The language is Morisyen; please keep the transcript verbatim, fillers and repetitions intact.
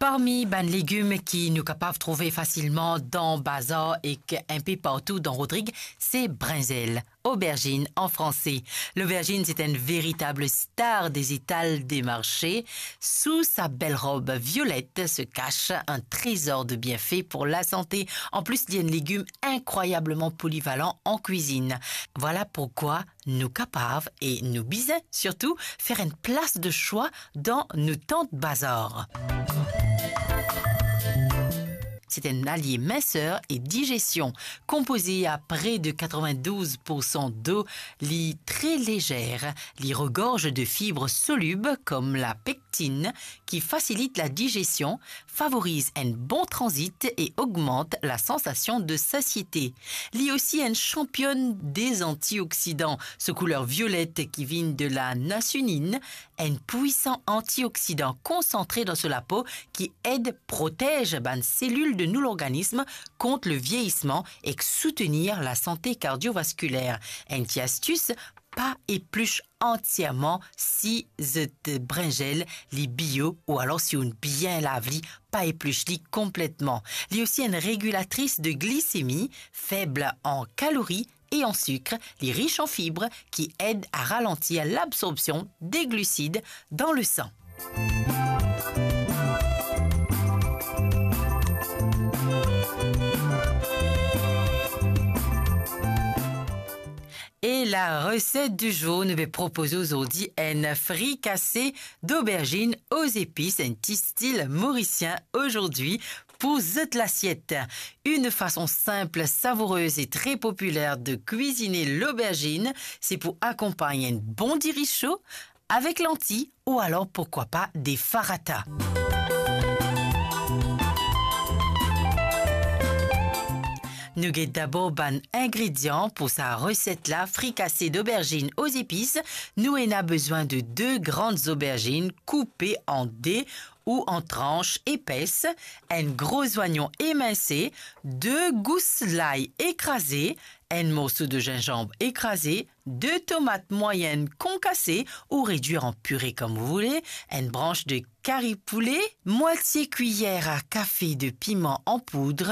Parmi bann legim ki nou kapav trouve fasilman dan bazar ek inpe partou dan Rodrig, se brinzel, aubergine an franse. Loberzinn se enn veritab star de letal de marse. Sou sa bel rob violet se kas enn trezor de bienfe pou lasante. Anplis, li enn legim inkrwayableman polivalan an kwizinn. Vwala poukwa nou kapav e nou bizin sirtou fer enn plas de swa dan nou tant bazar. Se enn alie minser e digestion. Konpoze a pre de katrevindouz poursan do, li tre lezer, li regorz de fib solib kom la pektin ki fasilit la digestion, favoriz enn bon tranzit e ogmant la sansasion de sasiete. Li osi enn sanpionn de antioksidan, so kouler violet ki vinn de la niacinine, enn pwisan antioksidan konsantre dan so lapo ki ed protez bann selil de nou lorganism kont le vieyisman ek soutenir la sante kardiovaskiler. Enn ti astis, pa eplis antierman si zot brinzel li bio ou alor si ou'nn bien lav li, pa eplis li konpletman. Li osi enn regilatris de glisemi, feb an kalori e an sik, li ris an fib ki ed a ralantir labsorbsion de glisid dan le san. E la reset di zour, nou pe propoze ozordi enn frikase d'aubergine aux épices, enn ti stil morisien ozordi pou zot lasiet. Enn fason sinp, savoureuse e tre popiler de kwizine loberzinn, se pou akonpagn enn bon diri so avek lanti ou alor, poukwa pa, de farata. Nou get dabor bann ingredian pou sa reset la, frikase d'aubergine aux épices. Nou ena bezwin de de gran zoberzinn koupe an de ou an trans epes, enn gro zwayon eminse, de gous lay ekraze, enn morso de zinzanm ekraze, de tomat mwayenn konkase ou redwir an pire kom ou voule, enn brans de kari poule, mwatie kwiyer a kafe de piman an poud,